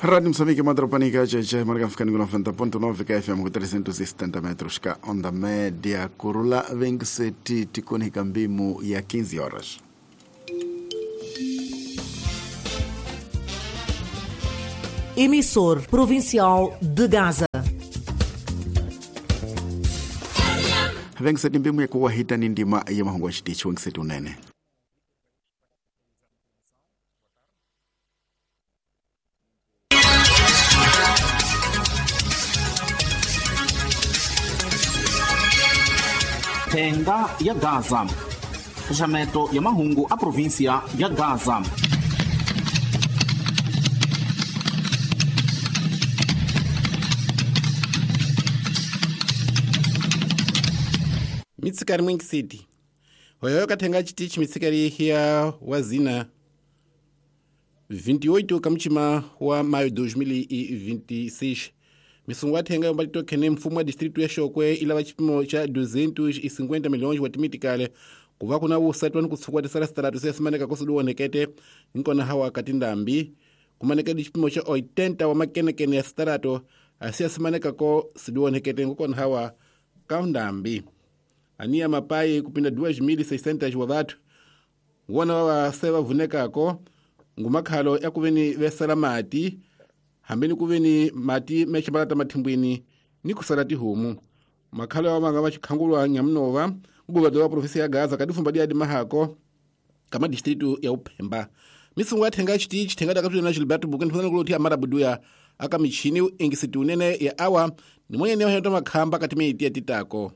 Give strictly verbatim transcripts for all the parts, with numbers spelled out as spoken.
Rádio Moçambique, Madropanica, J J, marca ficando com noventa ponto nove K F M com trezentos e setenta metros ka onda média. Kurula vinte e sete tikoni kambimu ya quinze horas. Emissor Provincial de Gaza. vinte e sete mbimu ya kuwahita ni ndima ya mahungu ya chitichi vinte e sete unene. Thenga ya Gaza. Xaxameto ya mahungu a província ya Gaza. Mitsikari mwingi city hoyo kathenga chitichi mitsikari hiya wazina vinte e oito kamuchima wa maio dois mil e vinte e seis. Misungu athenga yomba litokhene mfumo wa distrito ya Xokwe ilava chipimo cha duzentos e cinquenta milhões wa timitikale kuva kuna vusati wani kutsukwa tisala sitaratu siyasimaneka kosuduwonekete nkona hawa katindambi kumanekedi chipimo cha oitenta wa makenekene ya sitarato asiyasimanekako siduwonekete nkokona hawa kaundambi ania mapai kupinda duas mil e seiscentos wa vathu ngona wawa se vavunekako ngumakhalo ya kuveni vesala mati hambeni kuveni mati meximbalata mathimbwini ni kusala tihomu makhalo ya manga vaxikhangulwa nyamunova guvernador wa província ya Gaza kadifumba diadi mahako kama distrito ya Uphemba. Misungu athenga chitichi thenga dakatulina na Gilberto Bukeni phana kuloti amara buduya aka michini ingisiti unene ya awa ni mwenye ne waheto makhamba katimiti ya titako.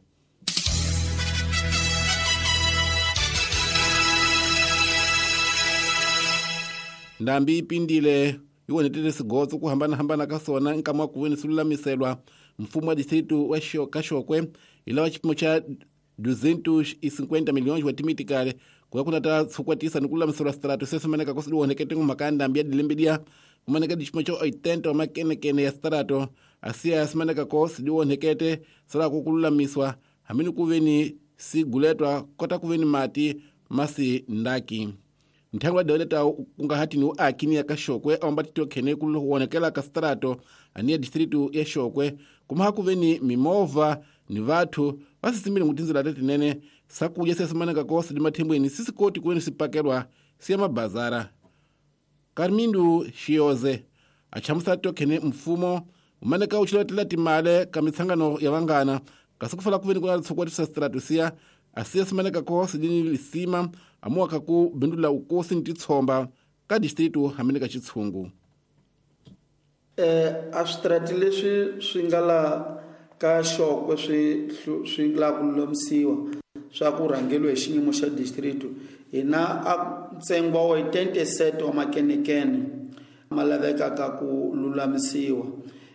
Ndambi ipindile iwonetele sigotso ku hambana-hambana ka sona nkama wa kuveni silulamiselwa mfumo wa distrito wa Kaxokwe ilawa chipimo cha duzentos e cinquenta milhões wa timitikale kuya kuna ta tshukwatisa ni kululamiselwa strato sesumaneka kosidiwonekete ngumhaka ya ndambi ya dilembedia kumaneka chipimo cha oitenta wa makenekene ya strato asiya yasimaneka ko sidiwonekete salako kululamiswa hamini kuveni siguletwa kota kuveni mati masi ndaki. Nthangu wa daweleta kungahati ni uaki ni ya Kaxokwe awamba titokhene kuwonekela ka strato ani ya distrito ya Xokwe kumaha kuveni mimovha ni vathu vasisimile ngutinzela tetinene sakudya siyasimaneka kosi di mathimbweni sisikoti kuveni sipakelwa siya mabazara. Karmindu Xiyoze achamusa titokhene mfumo umaneka uchilatela timale ka mitsangano ya vangana kasi kufala kuveni kuna tshukwatisa strato siya asiya simaneka kosi dini lisima amuwaka ku bindula ukosi ni titshomba ka distrito hamene ka xitshungu. Eh a switrati leswi swi nga la ka Xokwe swi swi la ku lulamisiwa swa ku rhangeliwa hi xiyimo xa distrito hina a ntsengo wa twenty-seven wa makenekene ma lavekaka ku lulamisiwa.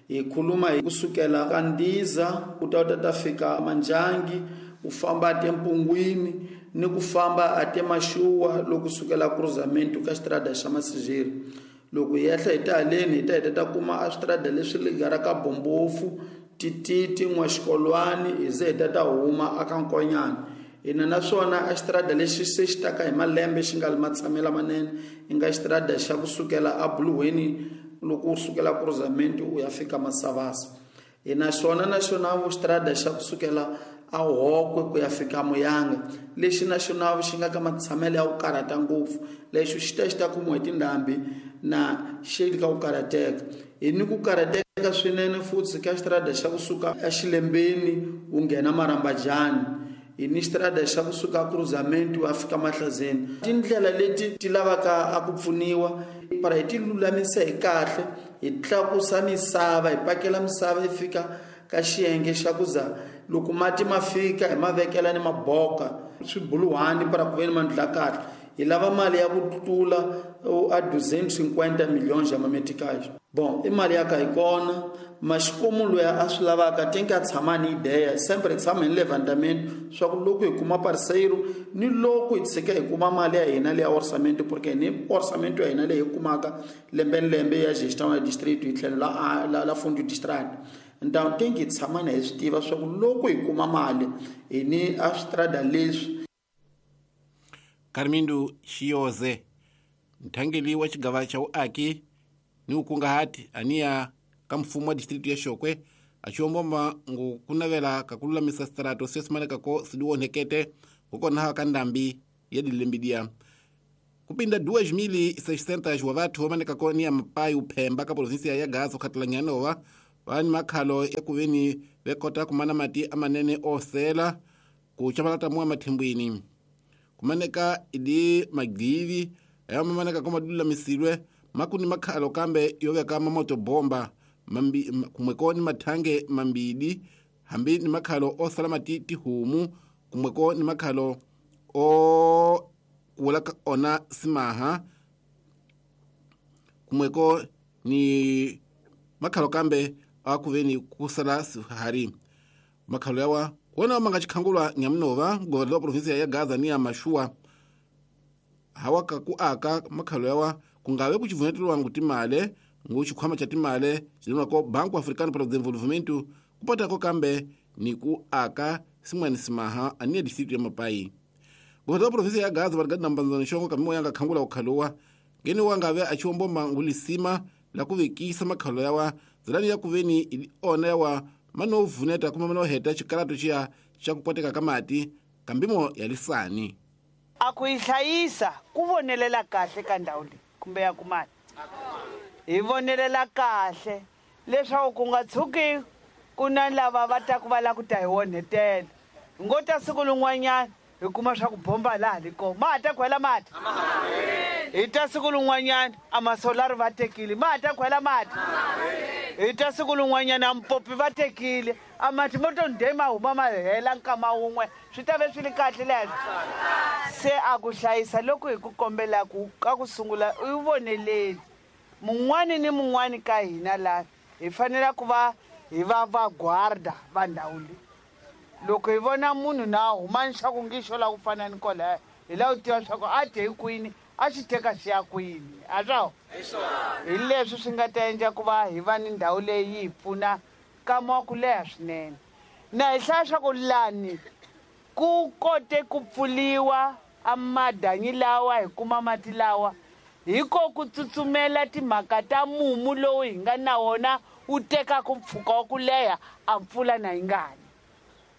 Hi khuluma hi kusukela ka Ndiza ku ta ta fika Manjangi u famba atempungwini ni ku famba atemashuwa loko sukela cruzamento ka xitrada xa Masijeri. Loko hi ehla hi ta haleni hi ta hi ta kuma a switrada leswi ligaraka Bombofu Tititi N'waxikolwani hi ze hi ta ta huma aka Nkonyana. Hina naswona a xitrada lexi se xi taka hi malembe xi nga li matshamela manene i nga xitrada xa kusukela a Buluweni loko u sukela cruzamento u ya fika Masavasa. Hina xona na xona xitrada xa kusukela a Hokwe ku ya fika Muyanga lexi na xona xi nga ka matshamelo ya ku karhata ngopfu lexi xi ta xi ta kumiwa hi tindhambi na xi ka ku karhateka. Hi ni ku karhateka swinene futhi ka xitrada xa kusuka eXilembeni u nghena Marambajani. Hi ni xitrada xa kusuka cruzamento u ya fika Mahlazeni. Tindlela leti ti lavaka a ku pfuniwa para hi ti lulamisa hi kahle hi tlakusa misava hi pakela misava yi fika ka xiyenge xa ku za loko mati ma fika hi ma vekela ni maboka swibuluhani para ku veni mandla kahle. Hi lava mali ya ku tlula a duzentos e cinquenta milhões ya mameticais. Bom, i mali ya ka hi kona maxikomu loyi a swi lavaka tenke a tshama ni ideia sempre tshama hi levantamento swa ku loko hi kuma parceiro ni loko hi tshika hi kuma mali ya hina leya orçamento porque ni orçamento ya hina leyi hi kumaka lembe ni lembe ya gestão ya distrito hi tlhelo la la, la fundo distrito. Então tem que tshama na hi swi tiva swa ku loko hi kuma mali hi ni a switrada leswi. Karmindu Xiyoze nthangeli wa xigava xa uaki ni ukungahati aniya ka mfumo wa distritu ya Xokwe achiwombomba ngu kunavela kakululamisa strato sesimanekako sidiwonhekete kukonaha ka ndambi ya dilembidia kupinda duas mil e seiscentos wa vathu vamanekako ni ya Mapai uphemba ka provinsia ya Gaza khatela nyanova vani makhalo ya kuveni vekota kumana mati amanene osela kuchamalata muwa mathimbwini kumaneka idi magivi ayo mamaneka ko madulamisilwe makuni makhalo kambe yoveka mamoto bomba mambi kumweko ni mathange mambidi hambi ni makhalo osala mati tihumu kumweko ni makhalo o kuwela ona simaha kumweko ni makhalo kambe akuveni kusala sihari makhalo yawa kuona manga chikhangulwa nyamunova governador wa provinsia ya Gaza ni ya Mashua hawaka ku aka makhalo yawa kungawe kuchivunetelwa ngutimale ngu chikhwama cha timale chilimako Banco Africano para o Desenvolvimento kupatako kambe ni ku aka simwani simaha aniya distritu ya Mapai. Governador wa provinsia ya Gaza varigadi na mbanzano xongo kamimo yanga khangula ukhalowa ngeni wangave achiwombomba ngulisima la kuvekisa makhalo yawa zilani ya kuveni ili ona yawa manovuneta kuma manoheta chikalato chiya cha kupwateka kamati kambimo ya lisani akuihlayisa kuvonelela kahle ka ndhawu leyi kumbe ya kumani hi vonelela kahle leswaku ku nga tshuki ku na lava va ta ku va la ku ta hi onhetela hi ngo ta siku lin'wanyana hi kuma swa ku bomba laha li kona ma ha ta khwela mati hi ta siku lin'wanyana a masolari va tekile ma ha ta khwela mati hi ta siku lin'wanyana a mpopi va tekile a mati mo to ndhe ma huma ma hela nkama wun'we swi ta ve swi li kahle leswo se a ku hlayisa loko hi ku kombelaku ka ku sungula u yi voneleli mun'wani ni mun'wani ka hina laha hi fanele ku va hi va vagwarda va ndhawu leyi loko hi vona munhu na huma xa ku ngixo la ku fana ni kwalaya hi la ku tiva swa ku a dye hi kwini a xi teka xi ya kwini a swo hi leswi swi nga ta endla ku va hi va ni ndhawu leyi yi hi pfuna nkama wa ku leha swinene na hi hlaya swa ku lani ku kote ku pfuliwa a madanyi lawa hi kuma mati lawa hiko ku tsutsumela timhaka ta mumu lowu hi nga na wona wu tekaka mpfhuka wa ku leha a mpfula na yi ngani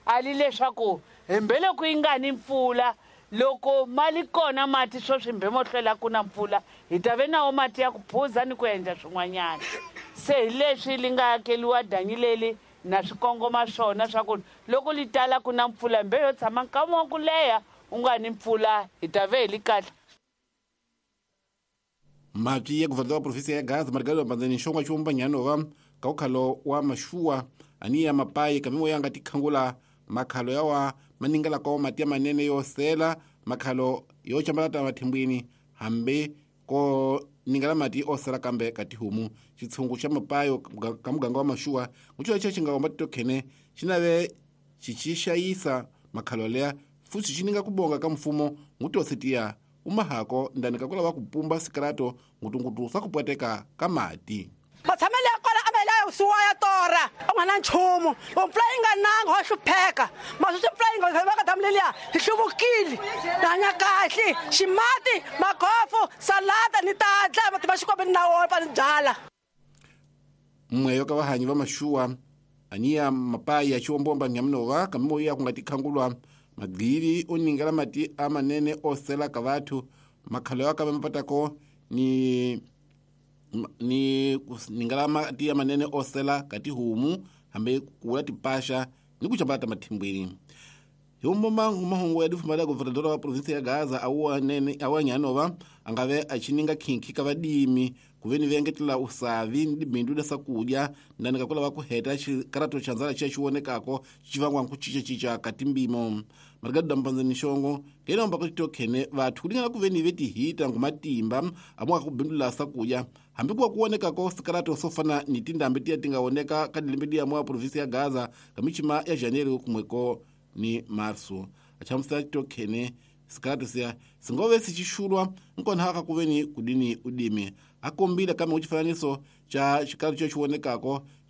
ali leswaku hembeloko yi nga ni mpfula loko mali kona mati sweswi mbhe mo hlwela ku na mpfula hi ta ve nawo mati ya ku phuza ni ku endla swin'wanyana se hi leswi li nga akeliwa danyi leli na swikongoma swona swa ku loko li tala ku na mpfula mbe yo tshama nkama wa ku leha u nga ni mpfula hi ta ve hi li kahle. Mati ya governador wa provinsia ya Gaza Margalo Mbanzani xongo xumba nyanova ka ukhalo wa Mashua ani ya Mapai kamimo yanga tikhangula makhalo yawa maningela ko mati ya manene yo sela makhalo yo chambalata mathimbwini hambi ko ningala mati osela kambe katihumu chitsungu cha Mapayo ka muganga wa Mashua ngucho icho chinga tokhene chinave chichishayisa makhalo leya futhi chininga kubonga ka mfumo ngutositiya umahako ndani kakula wa kupumba sikarato ngutungutu swa kupwateka ka mati matshamelo ya kona a ma la suwa ya tora a nga na nchumu loko mpfula yi nga nanga wa hlupheka maswi mpfula yi nga va ka damu leliya hi hluvukile ni hanya kahle ximati magofu salata ni tadla mati ma xikwembu ni na wona pa ni byala. Mweyo ka vahanyi va Mashua aniya Mapai ya chiwombomba nyamunova kamimo ya kunga tikhangulwa magili oningela mati amanene osela ka vathu makhalo ya kave mapatako ni ni ningala mati amanene osela katihumu hambi kuwula tipasha ni kuchambata mathimbwini hiumbomba ngumahungu ya difumala governador wa provinsia ya Gaza awanene awanyanova angave achininga khinkhi ka vadimi kuveni vengetela usavi ni bindu la sakudya ndani kakula wa kuheta chikarato cha nzala cha chiwonekako chivangwa nkuchicha chicha katimbimo Margado Mbanzani xongo ngeno mbako tokhene vathu kulingana kuveni vetihita ngumatimba amwa kubindula sakudya hambi kuwa kuonekako sikarato sofana ni tindambi tiya tingaoneka kadilembe ya mwa provinsia ya Gaza kamichima ya Janeiro kumweko ni marso achamusa tokhene sikarato siya singove sichishulwa nkona haka kuveni kudini udimi Akombile kambe kuchifananiso cha xikalo xo xi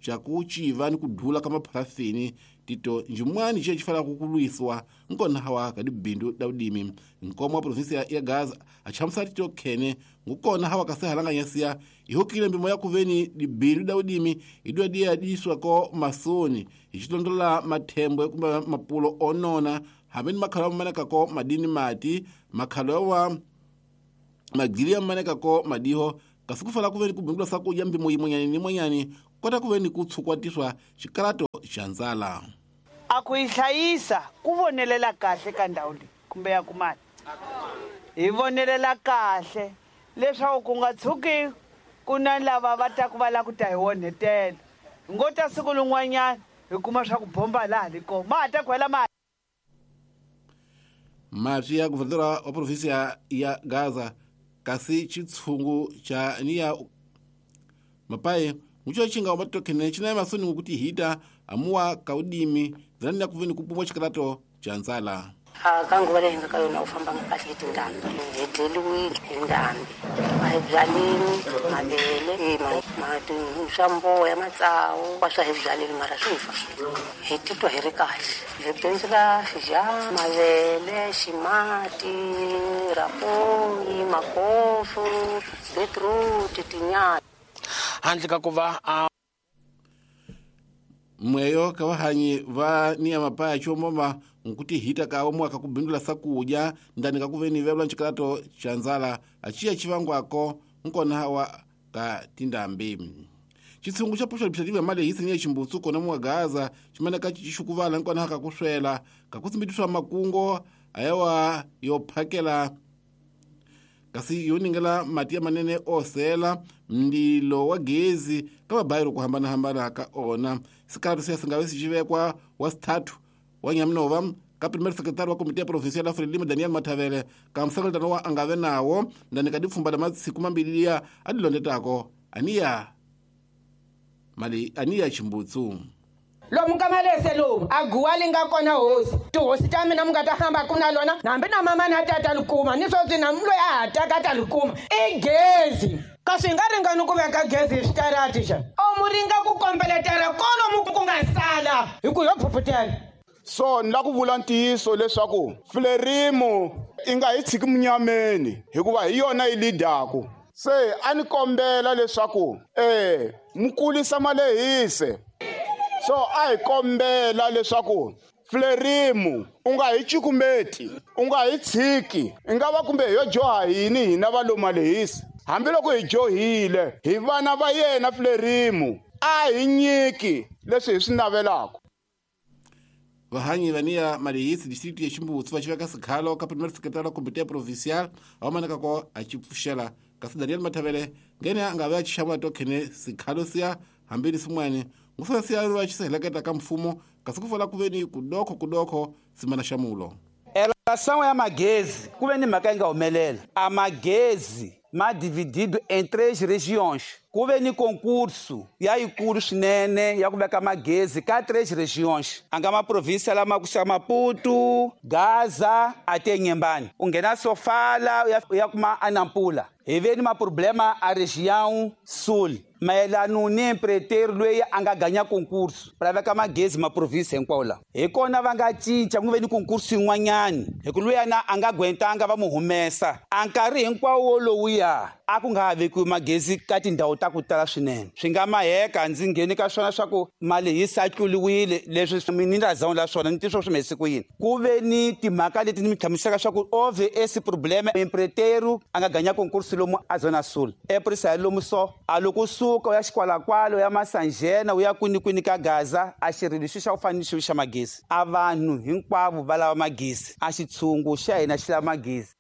cha kuchiva ni kudula ka mapharafini tito njimwani xe xi fanelaka ku lwisiwa nkona hawa ka dibindu da vudimi nkomo wa provinsi ya Gaza a chamusa tito khene ngukona hawa ka sehalanganyasiya ihokile mbimo ya kuveni dibindu da vudimi idwa diya diswa ko masoni hi xilondola mathembo kumbe mapulo onona hambi ni makhalo ya manekako madini mati makhalo wa magiri ya manekako madiho kasi ku fala kuveni kubindula sakudya mbimo yimwenyani ni mwenyani kota kuveni kutsukwatiswa xikalato xa ndzala a ku yi hlayisa ku vonelela kahle ka ndhawu leyi kumbe ya kumani hi vonelela kahle leswaku ku nga tshuki ku na lava va ta ku va lava ku ta hi onhetela hi ngo ta siku lin'wanyana hi kuma swa ku bomba laha li kona ma ha ta ku hela ma mati ya guvernadora wa provinsi ya Gaza kasi chitsungu cha niya mapaye mucho chinga wa matokene china masoni ngukuti hita amuwa kaudimi zani ya kuveni kupumwa chikalato cha nzala a ka nguva leyi nga ka yona u famba kahle hi tindhambi hi deliwile hi ndhambi a hi byalini mavele mati swa mboya matsawu wa swa hi byalini mara swi fa hi titwa hi ri kahle hi bindzula xija mavele ximati rapoyi makofu beetroot tinyala handle ka ku va a mweyo ka vahanyi va niya mapaya chomoma nkuti hita ka omwaka kubindula sakudya ndani ka kuveni vebula nchikalato cha nzala achiya chivangwako nkona hawa ka tindambi chitsungu cha posho administrative ya mali hisi niya chimbutsu kona mwa Gaza chimene ka chixukuvala nkona haka kuswela kakutsimbidiswa makungo ayawa yophakela kasi yoningela mati ya manene osela mndilo wa gezi ka mabayiro kuhambana-hambana ka ona sikalato siya singave sixivekwa wa sithathu wa Nyamunova ka primeiro secretário wa komite ya provincial ya Frelimo Daniel Mathavele ka msakalitano wa angave nawo ndani ka dipfumba la matsiku mambili liya a dilondetako aniya mali aniya chimbutsu lomu ka malese lomu a guwa li nga kona hosi tihosi ta mina mi nga ta hamba ku na lona hambi na mama na tata li kuma ni sweswi na loyi a ha taka ta li kuma i gezi kasi hi nga ringani ku veka gezi hi switarati xa o mu ringa ku kombeletela kolomu ku nga sala hi ku yo phuphutela so ni la ku vula ntiyiso leswaku Frelimo i nga hi tshiki munyameni hikuva hi yona yi lidaku se a ni kombela leswaku eh mu kulisa malehise so a hi kombela leswaku Frelimo u nga hi cukumeti u nga hi tshiki i nga va kumbe hi yo joha yini hina va lo malehisi hambiloko hi johile hi vana va yena Frelimo a hi nyiki leswi hi swi navelaka vahanyi vania malehisi district ya Chimbutsu va xiveka sikhalo ka primeiro secretário wa komite provincial a manaka ko a xi pfuxela kasi Daniel Mathavele ngene a nga ve a xixamula tokhene sikhalo siya hambi ni swin'wana ngusana siya va xi heleketa ka mfumo kasi ku fola ku veni kudokho kudokho simana xamulo Relação a magezi ku ve ni mhaka yi nga humelela a magezi ma dividido em três regiões ku ve ni concurso ya yikulu swinene ya ku veka magezi ka três regiões a nga maprovinsia lama ku xa Maputo, Gaza ate Nyembani u nghena Sofala u ya kuma Anampula hi ve ni maproblema a região sul mayelano ni empreiteiro loyi a nga ganya concurso para veka magezi maprovinsia hinkwawo lawa hi kona va nga cinca ku ve ni concurso yin'wanyani hi ku luyana a nga gwentanga va mu humesa a nkarhi hinkwawo lowuya a ku nga ha vekiwi magezi ka tindhawu ta ku tala swinene swi nga maheka ndzi ngheni ka swona swa ku mali yi satluliwile leswi ni nga zawula swona ni tiswo swi mhesi ku yini ku ve ni timhaka leti ni mi hlamuselaka swa ku ove esse problema empreiteiro a nga ganya concurso lomu a zona sul eprisa lomu so a loko suka u ya xikwalakwalo ya Masanjena u ya kwinikwini ka Gaza a xirilo xi xa ku fana ni xilo xa magezi a vanhu hinkwavo va lava magezi a xitshungu xa hina xi lava magezi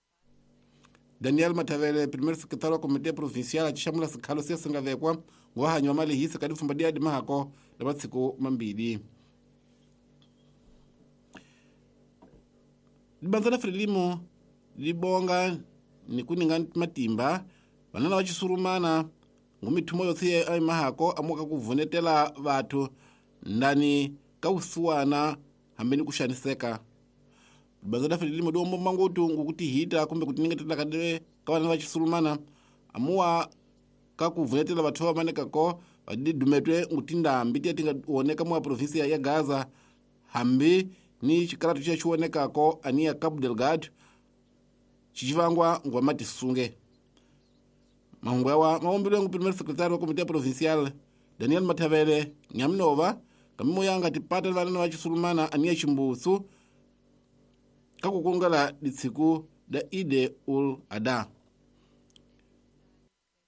Daniel Mathavele primeiro secretário wa komite provincial a xixamula sikhalo siya singavekwa ngohanyi wa malehisi ka dipfumba diya dimahako la matsiku mambili libanza la Frelimo libonga ni kuninga matimba vanana va xisurumana ngumithumo yotse ya mahako amuka ku vunetela vathu ndani ka vusiwana hambi ni ku xaniseka libanza la Frelimo dombo mangutu ngukutihita kumbe kutiningetela ka ka vana va xisurumana amuwa ka ku vunetela vathu va manekako va didumetwe ngutindambi tiya ti nga oneka mwa provinsia ya Gaza hambi ni xikaratu xa xi onekako aniya Cabo Delgado xixivangwa ngwa matisunge. Mahungu yawa maombilwe ngu primeiro secretário wa Comité Provincial Daniel Matavele Nyaminova kamimo yanga tipata vanana va Xisulumana aniya Chimbutsu ka ku kungela ditsiku da Eid ul Adha.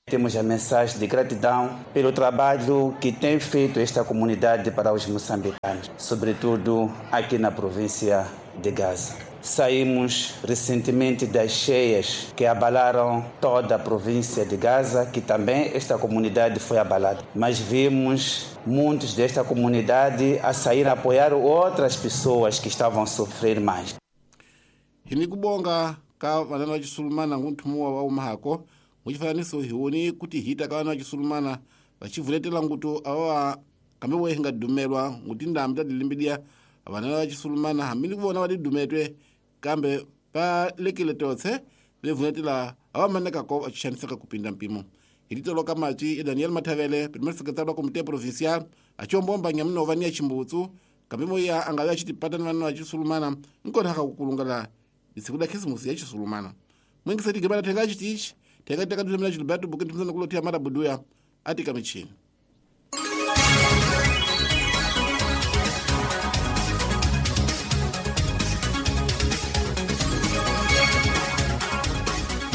Temos a mensagem de gratidão pelo trabalho que tem feito esta comunidade para os moçambicanos, sobretudo aqui na província de Gaza. Saímos recentemente das cheias que abalaram toda a província de Gaza, que também esta comunidade foi abalada. Mas vimos muitos desta comunidade a sair a apoiar outras pessoas que estavam a sofrer mais. Hinikubonga ka vanana va Xisulumana ngunthumu wa umahako muchifananiso hioni kuti hita ka vana va Xisulumana vachivuletela ngutu ava kambe we hinga dumelwa nguti ndambi ta dilimbidia vanana va Xisulumana hambi ni ku vona va didumetwe kambe va lekile totse vevuletela ava manekako va xaniseka ku pinda mpimo. Hi titoloka matwi ya Daniel Matavele primeiro secretário wa Comité Provincial achombomba Nyaminova ni ya Chimbutsu kambe moya anga va xitipata ni vanana va Xisulumana nkona ka ku kulungela disiku da Khisimusi ya Xisulumana. Mwingiseti gibana thenga xitichi thenga teka dulemela Gilberto Bukendi mzana kulotia mara buduya atika michini.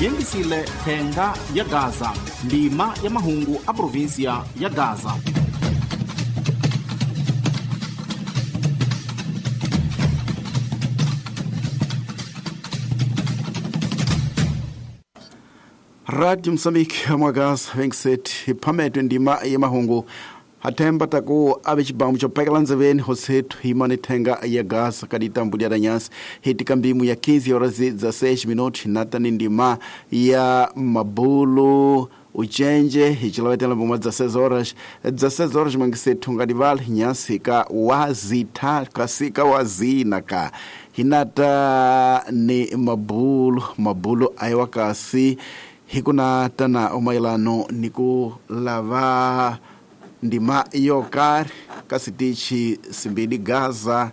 Yengisile thenga ya Gaza, ndima ya mahungu a província ya Gaza. Radio Mozambique mwagaza vengiseti iphametwe ndima ya mahungu hathemba taku ave xibamu xo pekela ndzeveni hosethu himani thenga ya Gaza ka ditambu lya nyasi hitika mbimu ya quinze horas e dezesseis minutos natani ndima ya mabulu uchenje hichilavetela mbuma dezesseis horas dezesseis horas mwangisethu ngadivala nyasi ka wazitha kasika wazina ka hinata ni mabulu mabulu aiwa kasi hikuna tana umailano niku lava ndima yokari kasitichi simbidi Gaza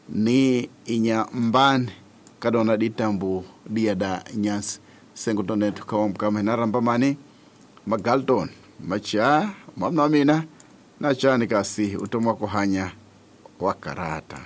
ni inyambani kadona ditambu diada nyasi sengutonetu kawamkama hinaramba mani Magalton macha mwamna mina na chani kasi utomwa kuhanya wakarata.